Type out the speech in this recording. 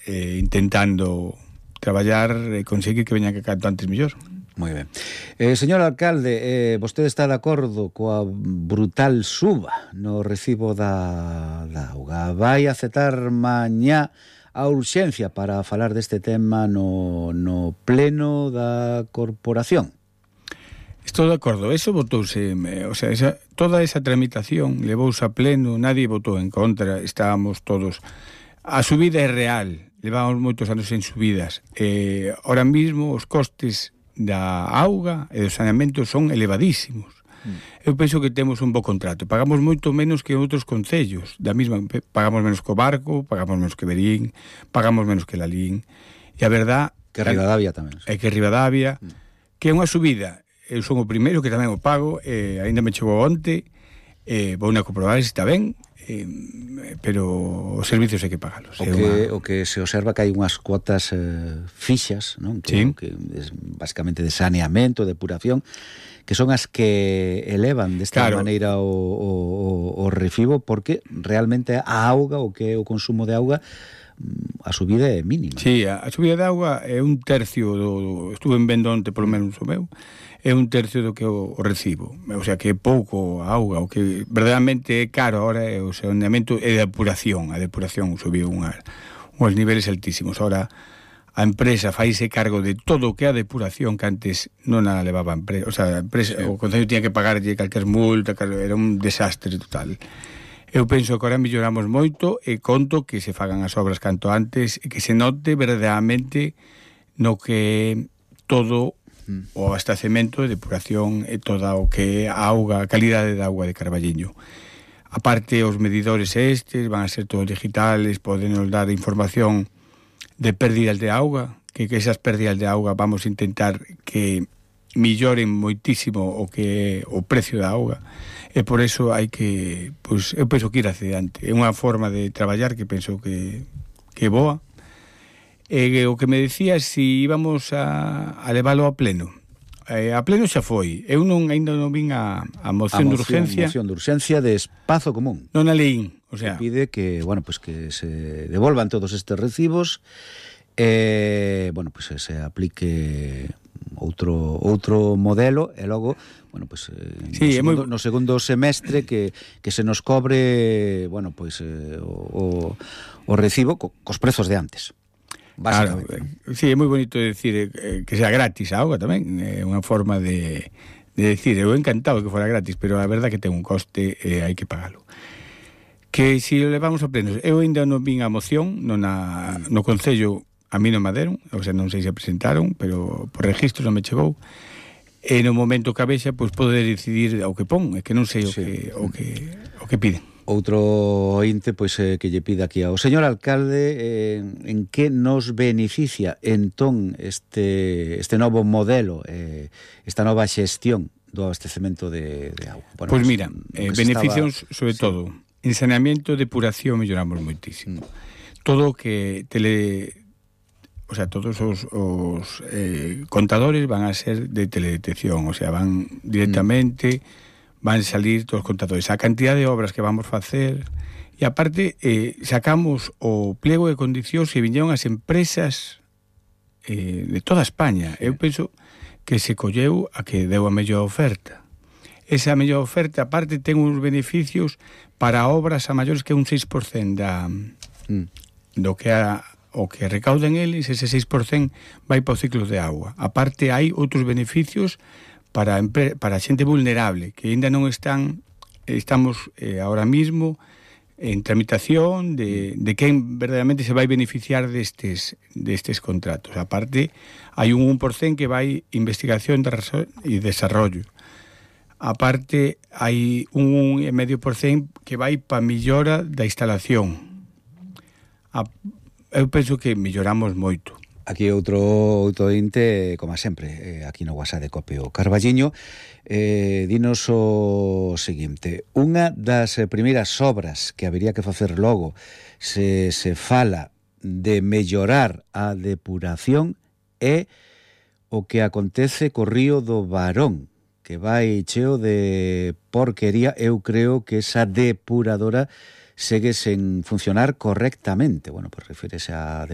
intentando traballar e conseguir que veñan que canto antes mellor. Moi ben. Señor alcalde, vostede está de acordo coa brutal suba no recibo da auga. Vai aceptar mañá a urxencia para falar deste tema no pleno da corporación? Estou de acordo, eso votouse, toda esa tramitación levouse a pleno, nadie votou en contra, estábamos todos. A subida é real, levamos moitos anos en subidas. Ahora mismo os costes da auga e do saneamento son elevadísimos. Eu penso que temos un bo contrato, pagamos moito menos que outros concellos, pagamos menos que o Barco, pagamos menos que Verín, pagamos menos que Lalín, e a verdad que Ribadavia tamén. É que Ribadavia, que é unha subida. Eu son o primeiro que tamén o pago, aínda me chegou onte, vou na comprobar se está ben, pero os servicios hai que pagalos. O que se observa que hai unhas cuotas fixas, non? Que é basicamente de saneamento, depuración, que son as que elevan desta maneira o recibo, porque realmente a auga, o que é o consumo de auga, a subida é mínima. Sí, a subida de auga é un tercio estuve vendo onte polo menos o meu, é un tercio do que o recibo, o sea que é pouco a auga, o que verdadeiramente é caro agora é o saneamento e a depuración subiu uns niveles altísimos. Ahora a empresa faise cargo de todo o que é a depuración, que antes non a levaba a empresa, o concello tiña que pagarlle calquer multa, era un desastre total. Eu penso que agora melloramos moito e conto que se fagan as obras canto antes e que se note verdadeiramente no que todo o abastecemento e depuración e toda o que é a auga, a calidade da auga de Carballiño. A parte, os medidores estes van a ser todos digitales, poden nos dar información de pérdidas de auga, que esas pérdidas de auga vamos a intentar que melloren moitísimo o que é o precio da auga, e por eso hai que, eu penso que ir hacia diante. É unha forma de traballar que penso que é boa. O que me decía si íbamos a leválo a pleno. A pleno xa foi. Eu ainda non vin a moción de urgencia. A moción de urgencia de espazo común. Non a leín. Que pide que, que se devolvan todos estes recibos e, se aplique outro modelo e logo, no segundo semestre que se nos cobre, o recibo cos prezos de antes. Claro, sí, é moi bonito decir que sea gratis a auga tamén, é unha forma de decir, eu encantado que fora gratis, pero a verdad que ten un coste e hai que pagalo. Que si lo levamos a plenos, eu ainda non vin a moción no Concello, a mí non me deron, non sei se presentaron, pero por registro non me chegou, e no momento que a vexa, poder decidir o que pon, é que non sei o que piden. Outro ointe, que lle pida aquí ao señor alcalde en que nos beneficia entón este novo modelo, esta nova xestión do abastecemento de auga. Mira, beneficios sobre todo en saneamento, depuración, melloramos moitísimo. Todo o que todos os contadores van a ser de teledetección, van directamente, van a salir todos os contadores. A cantidad de obras que vamos facer, e aparte sacamos o pliego de condicións e viñeron as empresas de toda España. Eu penso que se colleu a que deu a mellor oferta. Esa mellor oferta, aparte, ten uns beneficios para obras a maiores que un 6% do que o que recauden eles, ese 6% vai para o ciclo de agua. Aparte, hai outros beneficios para a xente vulnerable, que ainda non estamos ahora mismo en tramitación de quen verdadeiramente se vai beneficiar destes contratos. Aparte, hai un 1% que vai investigación e desarrollo. Aparte, hai un 1,5% que vai para millora da instalación. Eu penso que melloramos moito. Aquí outro ointe, como sempre, aquí no WhatsApp de Copio Carballiño, dinos o seguinte: unha das primeiras obras que habería que facer logo se fala de mellorar a depuración é o que acontece co río do Barón, que vai cheo de porquería. Eu creo que esa depuradora segue sen funcionar correctamente. Refírese a